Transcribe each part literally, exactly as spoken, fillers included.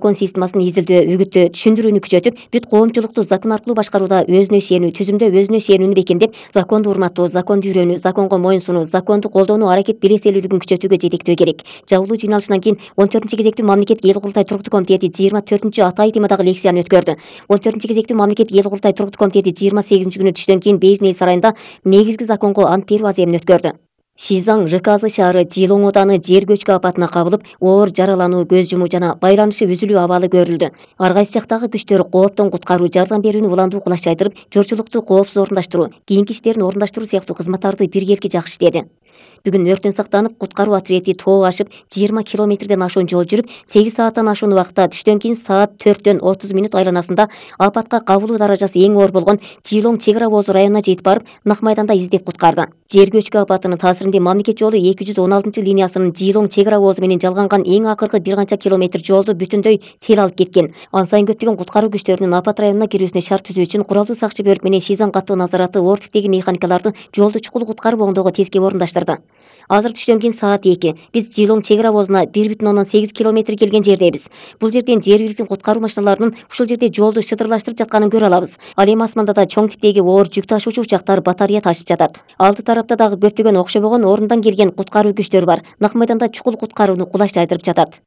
закон системасын изилдөө, үгүттөө, түшүндүрүүнү күчөтүп, бүт коомчулукту закон аркылуу башкарууда өзүнө ишенүү, түзүмдө өзүнө ишенүүнү бекемдеп, законду урматтоо, законду үйрөнүү, законго моюнсунуу, законду колдонуу аракет белеселүүлүгүн күчөтүүгө жетектөө керек. Жабылуу жыйналышынан кийин он төртүнчү кезектүү мамлекеттик эл курултай туруктуу комитети жыйырма төртүнчү атайын темадагы лекцияны өткөрдү. он төртүнчү кезектүү мамлекеттик эл курултай туруктуу комитети жыйырма сегизинчи күнү түштөн кийин Бейжин эл сарайында негизги законго ант берүү аземин өткөрдү. Шизаң ЖКЗ шаары Жылоң ооданы жер көчкү апатына кабылып, оор жаралануу, көз жумуу жана байланышы үзүлүү абалы көрүлдү. Ар кайсы жактагы күчтөр кооптон куткаруу, жардам берүүнү уландуу кулаш жайдырып, жорчулукту коопсуз орундаштыруу, кийинки иштерин орундаштыруу сыяктуу кызматтарды биргеликке жакшы иштеди. Бүгүн өрттөн сактанып, куткаруу отриети тоо ашып, жыйырма километрден ашуун жол жүрүп, сегиз сааттан ашуун убакытта түштөн кийин саат төрттөн отуз мүнөт айланасында апатка кабылуу даражасы эң оор болгон Жылоң чек ара оозу районуна жетип барып, нак майданда издеп куткарды. Жер көчкү апатынын таасиринде мамлекет жолу эки жүз он алтынчы линиясынын Жылоң чек ара оозу менен жалганган эң акыркы бир канча километр жолду бүтүндөй сел алып кеткен. Ан сайын көптөгөн куткаруу күчтөрүнүн апат районуна кирүүсүнө шарт түзүү үчүн куралдуу сакчы бөлүк менен Шизаң каттоо назараты оор типтеги механикаларды жолду чукул куткарып оңдоого тескеп орундаштырды. Азыр түштөн кийин саат эки. Биз Жылоң чек ара оозуна бир бүтүн ондон сегиз километр келген жердебиз. Бул жерден жергиликтүү куткаруу машиналарынын ушул жерде жолду шытырлаштырып жатканын көрө алабыз. Ал эми асманда да чоң типтеги оор жүк ташуучу учактар батарея ташып жатат. Алды тарапта дагы көптөгөн окшобогон орундан келген куткаруу күчтөрү бар. Нак майданда чукул куткарууну кулаш жайдырып жатат.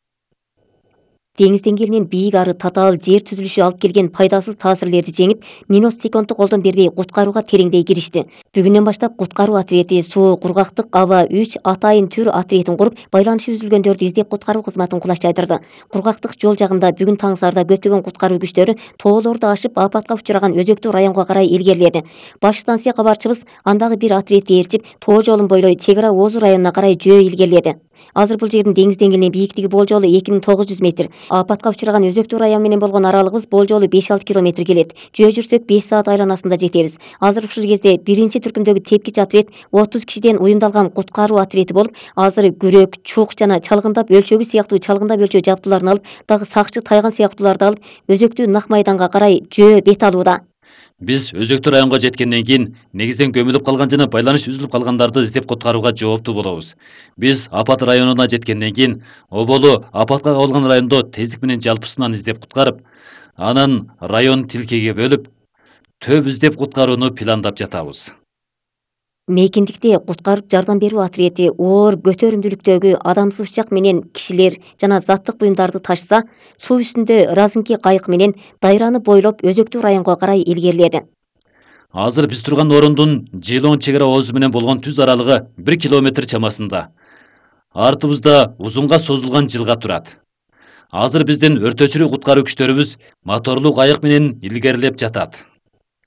Деңиз деңгээлинен бийик ары татаал жер түзүлүшү алып келген пайдасыз таасирлерди жеңип, минут секундту колдон бербей куткарууга тереңдей киришти. Бүгүндөн баштап куткаруу отриети суу, кургактык, аба үч атайын түр отриетин куруп, байланышы үзүлгөндөрдү издеп куткаруу кызматын кулаш жайдырды. Кургактык жол жагында бүгүн таң саарда көптөгөн куткаруу күчтөрү тоолорду ашып, апатка учураган өзөктүү районго карай илгериледи. Баш станция кабарчыбыз андагы бир отриетти ээрчип, тоо жолун бойлой чек ара оозу районуна карай жөө илгериледи. Азыр бул жердин деңиз деңгээлинен бийиктиги болжолу эки миң тогуз жүз метр. Апатка учураган өзөктүү район менен болгон аралыгыбыз болжолу беш алты километр келет. Жөө жүрсөк беш саат айланасында жетебиз. Азыр ушул кезде биринчи түркүмдөгү тепкич отряд отуз кишиден уюмдалган куткаруу отриети болуп, азыр күрөк, чук жана чалгындап өлчөгү сыяктуу чалгындап өлчөө жабдууларын алып, дагы сакчы тайган сыяктууларды алып, өзөктүү нак майданга карай жөө бет алууда. Биз өзөктүү районго жеткенден кийин негизден көмүлүп калган жана байланыш үзүлүп калгандарды издеп куткарууга жооптуу болобуз. Биз апат районуна жеткенден кийин оболу апатка кабылган райондо тездик менен жалпысынан издеп куткарып, анан район тилкеге бөлүп, төп издеп куткарууну пландап жатабыз. Мейкиндикте куткарып жардам берүү отриети оор көтөрүмдүүлүктөгү адамсыз учак менен кишилер жана заттык буюмдарды ташса, суу үстүндө разымки кайык менен дайраны бойлоп өзөктүү районго карай илгериледи. Азыр биз турган орундун Жылоң чек ара оозу менен болгон түз аралыгы бир километр чамасында. Артыбызда узунга созулган жылга турат. Азыр биздин өрт өчүрүү куткаруу күчтөрүбүз моторлуу кайык менен илгерилеп жатат.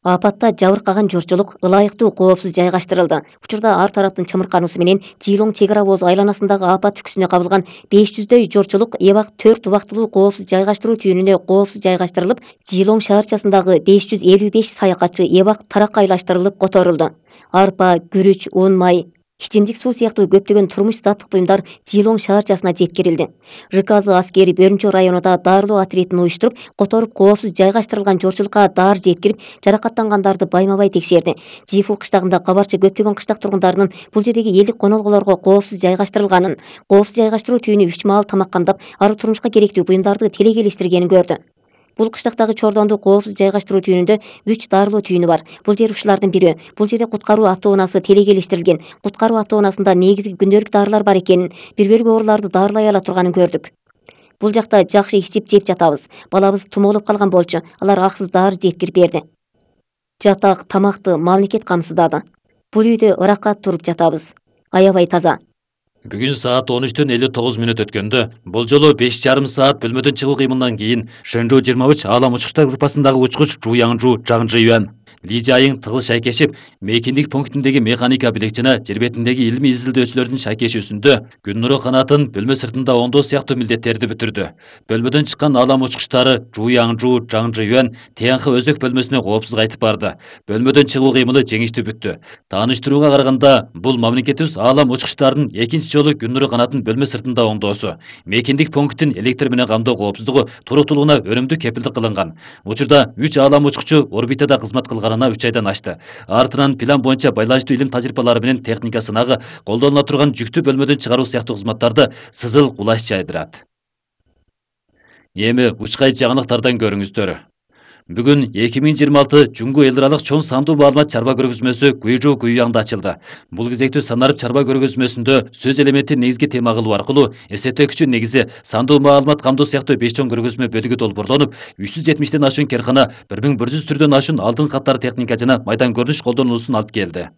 Апатта жабыркаган жорчулук ылайыктуу коопсуз жайгаштырылды. Учурда ар тараптын чымыркануусу менен Жылоң чек ара оозу айланасындагы апат түкүсүнө кабылган беш жүздөй жорчулук эбак төрт убактылуу коопсуз жайгаштыруу түйүнүнө коопсуз жайгаштырылып, Жылоң шаарчасындагы беш жүз элүү беш саякатчы эбак таракайлаштырылып которулду. Арпа, күрүч, un, май, ичимдик суу сыяктуу көптөгөн турмуш заттык буюмдар Жылоң шаарчасына жеткирилди. ЖКЗ аскери Бөрүнчө районунда дарылоо отриетин уюштуруп, которуп коопсуз жайгаштырылган жорчулукка даар жеткирип, жаракаттангандарды байма-бай текшерди. Жифу кыштагында кабарчы көптөгөн кыштак тургундарынын бул жердеги элдик конолгулорго коопсуз жайгаштырылганын, коопсуз жайгаштыруу түйүнү үч маал тамаккандап, ары турмушка керектүү буюмдарды телегелештиргенин көрдү. Бул кыштактагы Чордондуу коопсуз жайгаштыруу түйүнүндө үч дарылоо түйүнү бар. Бул жер ушулардын бири. Бул жерде куткаруу автоунаасы телегелештирилген. Куткаруу автоунаасында негизги күндөлүк дарылар бар экенин, бир бөлүк ооруларды дарылай ала турганын көрдүк. Бул жакта жакшы ичип жеп жатабыз. Балабыз тумоолоп калган болчу. Алар аксыз дары жеткирип берди. Жатак, тамакты мамлекет камсыздады. Бул үйдө ыракка туруп жатабыз. Аябай таза. Бүгүн саат он үчтөн элүү тогуз мүнөт өткөндө болжолу беш жарым саат бөлмөдөн чыгуу кыймылынан кийин Шэнжоу жыйырма үч аалам учкучтар группасындагы учкуч Жу Яңжу Жаң Жыюан Ли Жайың тыгыз шайкешип, мейкиндик пунктиндеги механика билек жана жер бетиндеги илимий изилдөөчүлөрдүн шайкешүүсүндө күн нуру канатын бөлмө сыртында оңдоо сыяктуу милдеттерди бүтүрдү. Бөлмөдөн чыккан аалам учкучтары Жу Яңжу Жаң Жыюан Тянхы өзөк бөлмөсүнө коопсуз кайтып барды. Бөлмөдөн чыгуу кыймылы жеңиштүү бүттү. Тааныштырууга караганда, бул мамлекетибиз аалам учкучтардын экинчи жолу күн нуру канатын бөлмө сыртында оңдоосу. Мейкиндик пункттин электр менен камдоо коопсуздугу туруктуулугуна өнүмдүү кепилдик кылынган. Учурда үч аалам учкучу орбитада кызмат кылганына үч айдан ашты. Артынан план боюнча байланыштуу илим тажрыйбалары менен техника сынагы, колдонула турган жүктү бөлмөдөн чыгаруу сыяктуу кызматтарды сызыл кулаш жайдырат. Эми учкай жаңылыктардан көрүңүздөр. Бүгүн эки миң жыйырма алты Жуңгу эл аралык чоң сандуу маалымат чарба көргөзмөсү Гуйжу Гуйяңда ачылды. Бул кезектүү санарып чарба көргөзмөсүндө сөз элементи негизги тема кылуу аркылуу эсептөөкчү негизи сандуу маалымат камдоо сыяктуу беш чоң көргөзмө бөлүгү долбоорлонуп, үч жүз жетимиштен ашуун керкана, бир миң бир жүз түрдөн ашуун алдын каттар техника жана майдан көрүнүш колдонулуусун алып келди.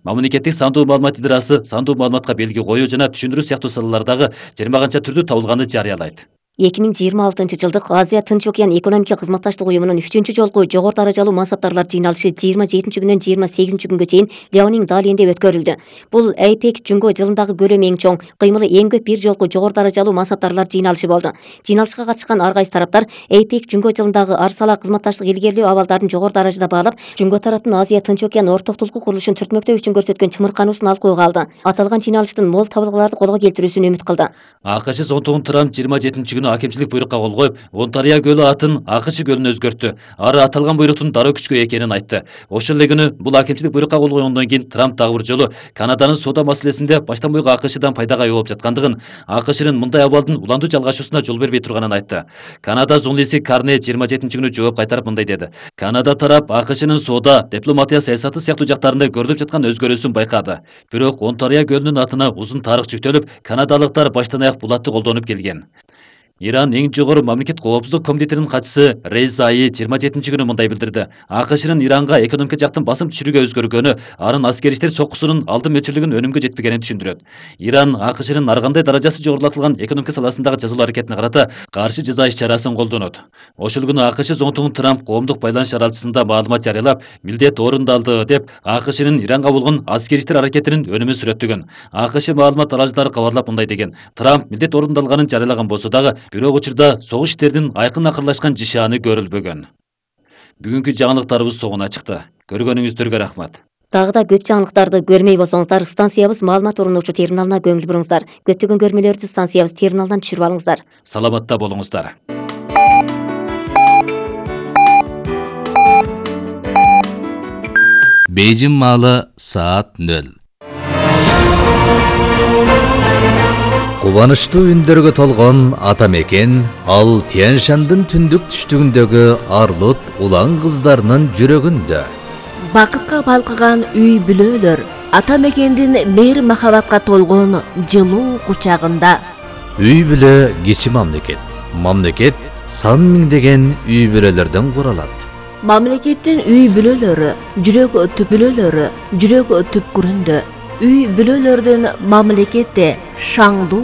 Мамлекеттик сандуу маалымат идарасы сандуу маалыматка белги коюу жана түшүндүрүү сыяктуу салалардагы жыйырма канча түрдүү табылганы жарыялайт. эки миң жыйырма алтынчы жылдык Азия Тынч океан экономика кызматташтык уюмунун үчүнчү жолку жогору даражалуу мансаптарлар жыйналышы жыйырма жетинчи күндөн жыйырма сегизинчи күнгө чейин Леонин Далиенде өткөрүлдү. Бул АйПек Жуңго жылындагы көлөмү эң чоң, кыймылы эң көп бир жолку жогору даражалуу мансаптарлар жыйналышы болду. Жыйналышка катышкан ар кайсы тараптар АйПек Жуңго жылындагы ар сала кызматташтык илгерилөө абалдарын жогору даражада баалап, Жуңго тараптын Азия Тынч океан ортоктулуку курулушун түртмөктөө үчүн көрсөткөн чымыркануусун алкууга алды. Аталган жыйналыштын мол табылгаларды колго келтирүүсүн үмүт кылды. АКШ зонтугун Трамп жыйырма жетинчи күнү акимчилик буйрукка кол коюп, Онтарио көлү атын АКШ көлүнө өзгөрттү. Ары аталган буйруктун дароо күчкө экенин айтты. Ошол эле күнү бул акимчилик буйрукка кол койгондон кийин Трамп дагы бир жолу Канаданын соода маселесинде баштан буйга АКШдан пайдага ээ болуп жаткандыгын, АКШнын мындай абалдын уландуу жалгашуусуна жол бербей турганын айтты. Канада журналисти Карне жыйырма жетинчи күнү жооп кайтарып мындай деди. Канада тарап АКШнын соода, дипломатия саясаты сыяктуу жактарында көрүлүп жаткан өзгөрүүсүн байкады. Бирок Онтарио көлүнүн атына узун тарых жүктөлүп, канадалыктар баштан аяк бул атты колдонуп келген. Иран эң жогору мамлекет коопсуздук комитетинин катчысы Рейза Аи жыйырма жетинчи күнү мындай билдирди. АКШнын Иранга экономика жактан басым түшүрүүгө өзгөргөнү, арын аскери иштер соккусунун алдын мөчүрлүгүн өнүмгө жетпегенин түшүндүрөт. Иран АКШнын ар кандай даражасы жогорулатылган экономика саласындагы жазалуу аракетине карата каршы жаза иш-чарасын колдонот. Ошол күнү АКШ зонтугун Трамп коомдук байланыш аралашасында маалымат жарыялап, милдет орундалды деп АКШнын Иранга болгон аскери иштер аракетинин өнүмүн сүрөттөгөн. АКШ маалымат аралыштары кабарлап мындай деген: Трамп милдет орундалганын жарыялаган болсо дагы, бирок учурда согуш иштердин айкын акырлашкан жишааны көрүлбөгөн. Бүгүнкү жаңылыктарыбыз согуна чыкты. Көргөнүңүздөргө рахмат. Дагы да көп жаңылыктарды көрмөй болсоңуздар, станциябыз маалымат орунуучу терминалына көңүл буруңуздар. Көптөгөн көрмөлөрдү станциябыз терминалдан түшүрүп алыңыздар. Саламатта болуңуздар. Бейжин маалы саат нөл. Кубанычтуу үндөргө толгон ата мекен ал Тянь-Шандын түндүк түштүгүндөгү арлут улан кыздарынын жүрөгүндө. Бакытка балкыган үй бүлөлөр ата мекендин мейир махабатка толгон жылуу кучагында. Үй бүлө кичи мамлекет. Мамлекет сан миңдеген үй бүлөлөрдөн куралат. Мамлекеттин үй бүлөлөрү жүрөк түпүлөлөрү жүрөк түпкүрүндө. Үй бүлөлөрдүн мамлекетте шаңдуу